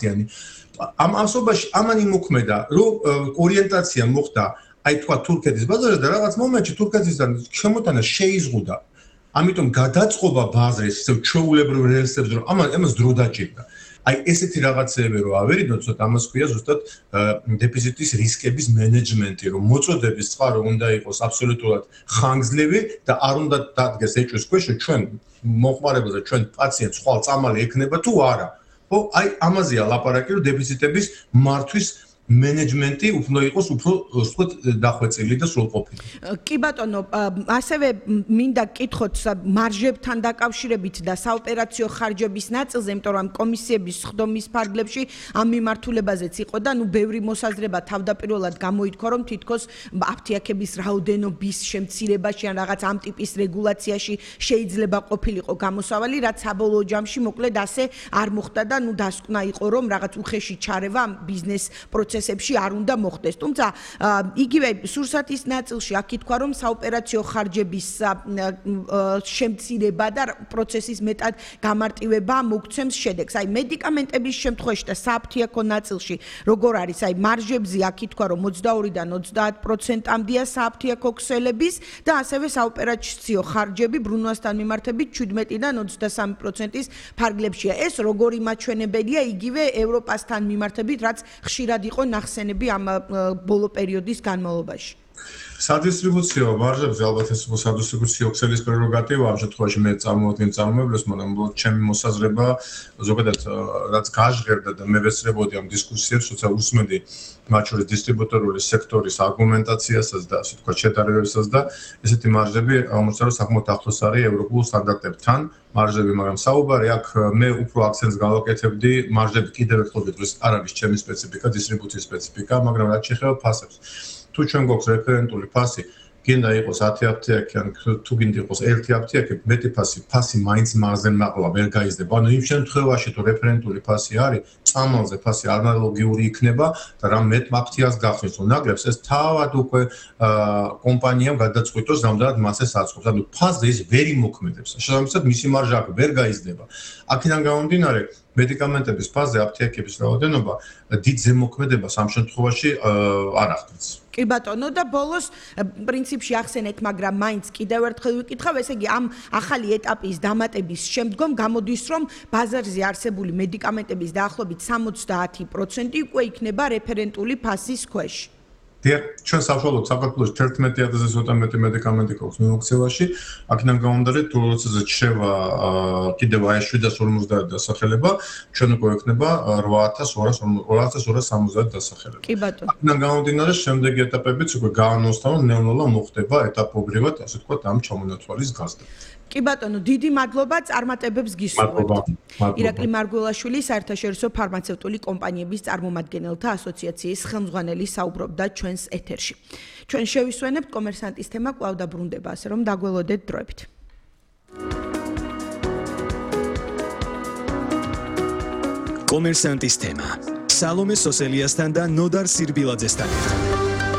ამ ასობაში ამან იმოქმედა, რომ ორიენტაცია მოხდა აი თქვა თურქეთის ბაზარზე და რაღაც მომენტში თურქეთისგან შემოტანა შეიზღუდა. ამიტომ გადაწყობა ბაზრის ისევ ჩვეულებრივ რელსებს რომ ამას დრო დაჭირდა. აი ესეთი რაღაცეები რომ ავერიდოთ, ცოტა ამას ქვია ზუსტად დეფიციტის რისკების მენეჯმენტი, რომ მოწოდების წყარო უნდა იყოს აბსოლუტურად ხანგრძლივი და არ უნდა დადგეს ეჭვის ქვეშ, რომ ჩვენ მოხმარებელს და ჩვენ პაციენტს ხვალ წამალი ექნება თუ არა. ხო, აი ამაზეა ლაპარაკი, რომ დეფიციტების მართვის მენეჯმენტი უფრო იყოს უფრო ვთქვათ დახვეწილი და სრულყოფილი. კი ბატონო, ასევე მინდა გკითხოთ მარჟებთან დაკავშირებით და საოპერაციო ხარჯების ნაწილზე, იმიტომ რომ კომისიების სხდომის ფარგლებში ამ მიმართულებაზეც იყო და ბევრი მოსაზრება თავდაპირველად გამოითქვა, რომ თითქოს აფთიაქების რაოდენობის შემცირებაში ან რაღაც ამ ტიპის რეგულაციაში შეიძლება ყოფილიყო გამოსავალი, რაც საბოლოო ჯამში მოკლედ ასე არ მოხდა და დასკვნა იყო, რომ რაღაც უხეში ჩარევა ამ ბიზნეს პროცესებში არ უნდა მოხდეს. თუმცა იგივე სურსათის ნაწილში აქ ითქვა, რომ საოპერაციო ხარჯების შემცირება და პროცესის მეტად გამარტივება მოგცემს შედეგს. აი მედიკამენტების შემთხვევაში და სააფთიაქო ნაწილში როგორ არის? აი მარჟებზე აქ ითქვა, რომ 22-დან 30%-მდეა სააფთიაქო ქსელების და ასევე საოპერაციო ხარჯები ბრუნვასთან მიმართებით 17-დან 23%-ის ფარგლებშია. ეს როგორი მაჩვენებელია იგივე ევროპასთან მიმართებით, რაც ხშირად იყო ნახსენები ამ ბოლო პერიოდის განმავლობაში. სადისტრიბუციო მარჟებზე ალბათ ეს სადისტრიბუციო ქსელის პრეროგატივა ამ შემთხვევაში მე წარმოვადგენ წარმოებებს, მაგრამ ჩემი მოსაზრება ზოგადად რაც გაჟღერდა და მე ვესწრებოდი ამ დისკუსიებს, თუმცა უსმენდი მათ შორის დისტრიბუტორული სექტორის არგუმენტაციასაც და ასე თქვა შედარებებსაც და ესეთი მარჟები აღმოჩნდა რომ საკმაოდ ახლოს არის ევროპულ სტანდარტებთან მარჟები, მაგრამ საუბარი აქ მე უფრო აქცენტს გავაკეთებდი მარჟები კიდევ ერთხელ ვიტყვი, არ არის ჩემი სპეციფიკა, დისტრიბუციის სპეციფიკა, მაგრამ რაც შეეხება ფასებს. თუ ჩვენ გვაქვს რეფერენტული ფასი, გინდა იყოს 10 აფთიაქი ან თუ გინდა იყოს 1 აფთიაქი, მეტი ფასი მაინც მარზენ მაყლა ვერ გაიზრდება. ანუ იმ შემთხვევაში თუ რეფერენტული ფასი არის, წამალზე ფასი ანალოგიური იქნება და რა მეტ აფთიაქს გახსნის თუ ნაკლებს, ეს თავად უკვე კომპანიამ გადაწყვიტოს რამდენად მასეს აწყობს. ანუ ფასზე ის ვერ იმოქმედებს. შესაბამისად მისი მარჟა აქ ვერ გაიზრდება. აქედან გამომდინარე მედიკამენტების ფასზე აფთიაქების რაოდენობა დიდ ზემოქმედებას ამ შემთხვევაში არ ახდენს. კი ბატონო და ბოლოს პრინციპში ახსენეთ, მაგრამ მაინც კიდევ ერთხელ ვიკითხავ, ესე იგი ამ ახალი ეტაპის დამატების შემდგომ გამოდის, რომ ბაზარზე არსებული მედიკამენტების დაახლოებით 70% უკვე იქნება რეფერენტული ფასის ქვეშ. ჩვენ საშუალოდ საქართველოს 11,000-ზე ცოტა მეტი მედიკამენტი გვაქვს მიმოქცევაში. აქედან გამომდინარე, თუ როდესაც შევა კიდევ აი 750 დასახელება, ჩვენ უკვე ექნება 8270 დასახელება. კი ბატონო. აქედან გამომდინარე, შემდეგი ეტაპებიც უკვე გაანონსდა, რომ ნელა მოხდება ეტაპობრივად, ასე ვთქვათ, ამ ჩამონათვალის გაზრდა. კი ბატონო, დიდი მადლობა წარმატებებს გისურვებთ. ირაკლი მარგველაშვილი, საერთაშორისო ფარმაცევტული კომპანიების წარმომადგენელთა ასოციაციის ხელმძღვანელი საუბრობდა ჩვენს ეთერში. ჩვენ შევისვენებთ კომერსანტის თემა კვლავ დაბრუნდება, ასე რომ დაგველოდეთ დროებით. კომერსანტის თემა. სალომე სოსელიასთან და ნოდარ სირბილაძესთან.